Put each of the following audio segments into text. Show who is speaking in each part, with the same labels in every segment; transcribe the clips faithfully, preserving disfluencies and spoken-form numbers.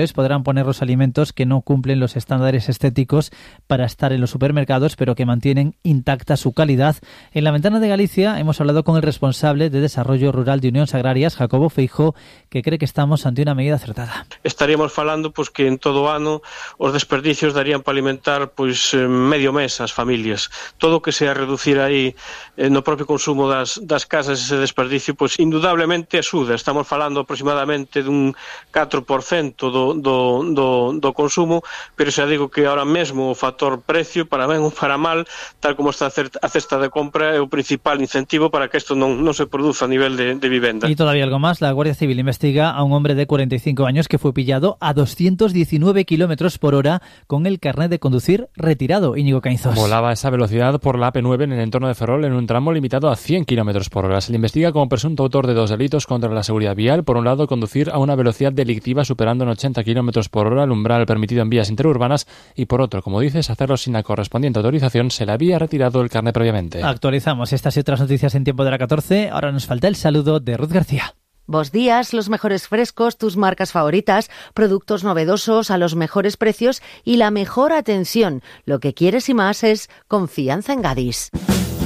Speaker 1: podrán poner los alimentos que no cumplen los estándares estéticos para estar en los supermercados, pero que mantienen intacta su calidad. En la Ventana de Galicia hemos hablado con el responsable de Desarrollo Rural de Unións Agrarias, Jacobo Feijó, que cree que estamos ante una medida acertada.
Speaker 2: Estaríamos falando pois, que en todo o ano os desperdicios darían para alimentar pois, medio mes as familias. Todo o que sea reducir aí eh, no propio consumo das, das casas ese desperdicio, pois indudablemente axuda. Estamos falando aproximadamente dun catro por cento do Do, do, do consumo, pero xa digo que ahora mesmo o factor precio, para ben ou para mal, tal como está a cesta de compra, é o principal incentivo para que isto non, non se produza a nivel de, de vivenda.
Speaker 1: Y todavía algo más, la Guardia Civil investiga a un hombre de cuarenta y cinco años que fue pillado a doscientos diecinueve kilómetros por hora con el carnet de conducir retirado. Íñigo Cainzos.
Speaker 3: Volaba a esa velocidad por la A P nueve en el entorno de Ferrol en un tramo limitado a cien kilómetros por hora. Se le investiga como presunto autor de dos delitos contra la seguridad vial. Por un lado, conducir a una velocidad delictiva superando en ochenta kilómetros por hora el umbral permitido en vías interurbanas, y por otro, como dices, hacerlo sin la correspondiente autorización. Se le había retirado el carnet previamente.
Speaker 1: Actualizamos estas y otras noticias en tiempo de la catorce. Ahora nos falta el saludo de Ruth García.
Speaker 4: Vos días, los mejores frescos, tus marcas favoritas, productos novedosos a los mejores precios y la mejor atención. Lo que quieres y más es confianza en Gadis.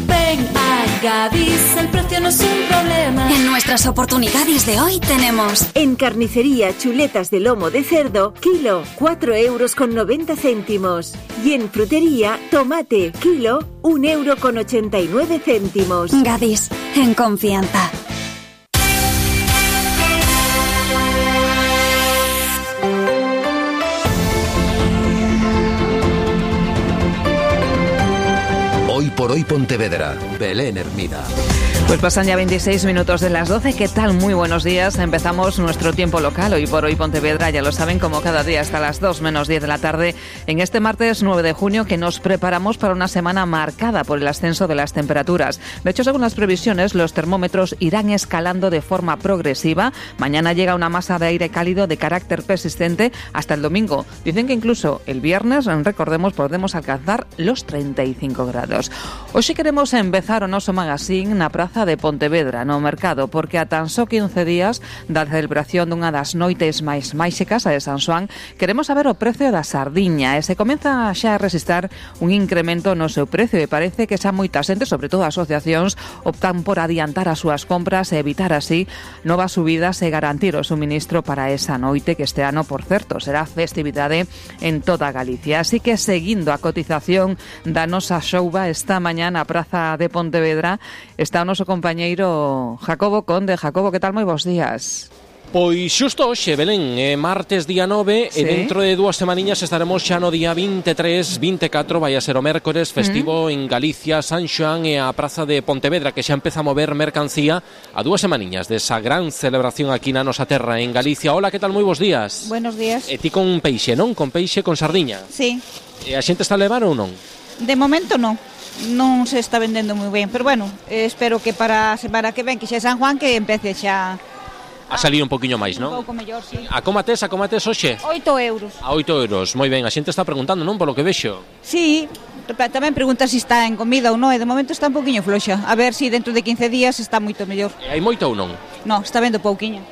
Speaker 5: Ven a Gadis, el precio no es un problema.
Speaker 6: En nuestras oportunidades de hoy tenemos:
Speaker 7: en carnicería, chuletas de lomo de cerdo, kilo, cuatro euros con noventa céntimos. Y en frutería, tomate, kilo, un euro con ochenta y nueve céntimos.
Speaker 6: Gadis, en confianza.
Speaker 8: Hoy por hoy Pontevedra, Belén Hermida.
Speaker 9: Pues pasan ya veintiséis minutos de las doce. ¿Qué tal? Muy buenos días. Empezamos nuestro tiempo local. Hoy por hoy Pontevedra, ya lo saben, como cada día hasta las dos menos diez de la tarde, en este martes nueve de junio, que nos preparamos para una semana marcada por el ascenso de las temperaturas. De hecho, según las previsiones, los termómetros irán escalando de forma progresiva. Mañana llega una masa de aire cálido de carácter persistente hasta el domingo. Dicen que incluso el viernes, recordemos, podemos alcanzar los treinta y cinco grados. Hoy sí queremos empezar o noso magazine na praza de Pontevedra, no mercado, porque a tan só quince días da celebración dunha das noites máis máxicas, a de San Xoán, queremos saber o precio da sardiña, e se comeza xa a resistar un incremento no seu precio, e parece que xa moitas xente, sobre todo asociacións, optan por adiantar as súas compras e evitar así novas subidas e garantir o suministro para esa noite, que este ano, por certo, será festividade en toda Galicia. Así que, seguindo a cotización da nosa xouba esta mañá na praza de Pontevedra, está o noso compañeiro Jacobo Conde. Jacobo, que tal? Moi bons días.
Speaker 10: Pois xusto hoxe, Belén, é martes día nove, ¿sí? E dentro de dúas semaniñas estaremos xa no día veintitrés, veinticuatro, vai a ser o mércores festivo mm. en Galicia, San Xoán e a praza de Pontevedra, que xa empeza a mover mercancía a dúas semaniñas desa gran celebración aquí na nosa terra en Galicia. Hola, que tal? Moi bons días.
Speaker 11: Buenos días.
Speaker 10: E ti con peixe, non? Con peixe con sardiña?
Speaker 11: Sí.
Speaker 10: E a xente está a levar ou non?
Speaker 11: De momento non. Non se está vendendo moi ben, pero bueno, eh, espero que para a semana que ven, que xa é San Juan, que empece xa
Speaker 10: a salir un poquinho máis, non?
Speaker 11: Un pouco mellor, sí.
Speaker 10: A comates, a comates hoxe?
Speaker 11: oito euros.
Speaker 10: A oito euros, moi ben. A xente está preguntando, non, polo que vexo?
Speaker 11: Sí, tamén pregunta se si está en comida ou non, e de momento está un poquinho floxa. A ver se si dentro de quince días está moito mellor.
Speaker 10: E hai moito ou non?
Speaker 11: Non, está vendo pouquiño.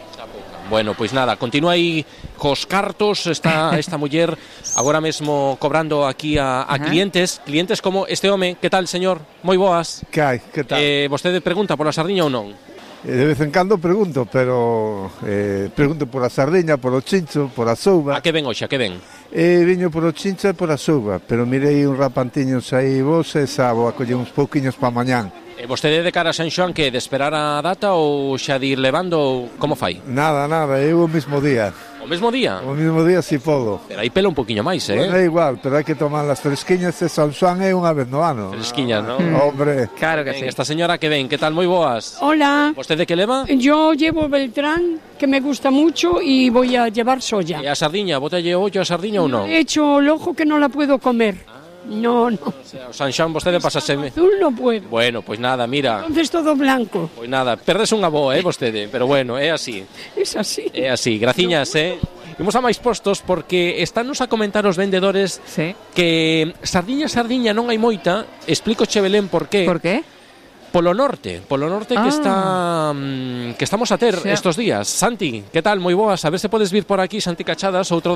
Speaker 10: Bueno, pois nada, continúa aí cos cartos, está esta muller agora mesmo cobrando aquí a, a clientes, clientes como este home. Que tal, señor? Moi boas.
Speaker 12: Que hai? Que tal?
Speaker 10: Eh, vostede pregunta pola sardiña ou non?
Speaker 12: De vez en cando pregunto, pero eh, pregunto por a sardiña, por o chincho, por a souba.
Speaker 10: A que ven hoxe, a que ven?
Speaker 12: Eh, viño por o chincho e por a souba, pero mirei un rapantiños aí vos e xa vou a coller uns pouquiños pa mañán.
Speaker 10: E vostede de cara a San Xoán, que de esperar a data ou xa de ir levando, como fai?
Speaker 12: Nada, nada, eu o mesmo día.
Speaker 10: O mesmo día?
Speaker 12: O mesmo día si podo.
Speaker 10: Pero aí pela un poquinho máis, eh?
Speaker 12: Bueno, é igual, pero hai que tomar as fresquiñas e San Xoán é unha vez no ano.
Speaker 10: Fresquiñas, non?
Speaker 12: Mm. Hombre.
Speaker 9: Claro que sí.
Speaker 10: Esta señora que ven, que tal? Moi boas.
Speaker 13: Hola.
Speaker 10: ¿Vostede que leva?
Speaker 13: Yo llevo Beltrán, que me gusta mucho, y voy a llevar soya.
Speaker 10: E a sardiña, botalle ollo a sardiña ou non?
Speaker 13: He hecho el ojo que no la puedo comer. No, no.
Speaker 10: O sea, o San Xoán vostede pasaseme.
Speaker 13: Azul no puedo.
Speaker 10: Bueno, pois pues nada, mira.
Speaker 13: Entonces todo blanco.
Speaker 10: Pois pues nada, perdes unha boa, eh, vostede, pero bueno, é así.
Speaker 13: Es así.
Speaker 10: É así, graciñas, no. eh. Imos a máis postos porque estános a comentar os vendedores
Speaker 9: sí.
Speaker 10: que sardiña, sardiña non hai moita. Explico che, Belén, por qué.
Speaker 9: Por qué?
Speaker 10: Polo Norte, Polo Norte
Speaker 9: Ah.
Speaker 10: que está mm, que estamos a ter
Speaker 9: Sí.
Speaker 10: estos días. Santi, que tal? Moi boas, a ver se podes vir por aquí, Santi Cachadas, outro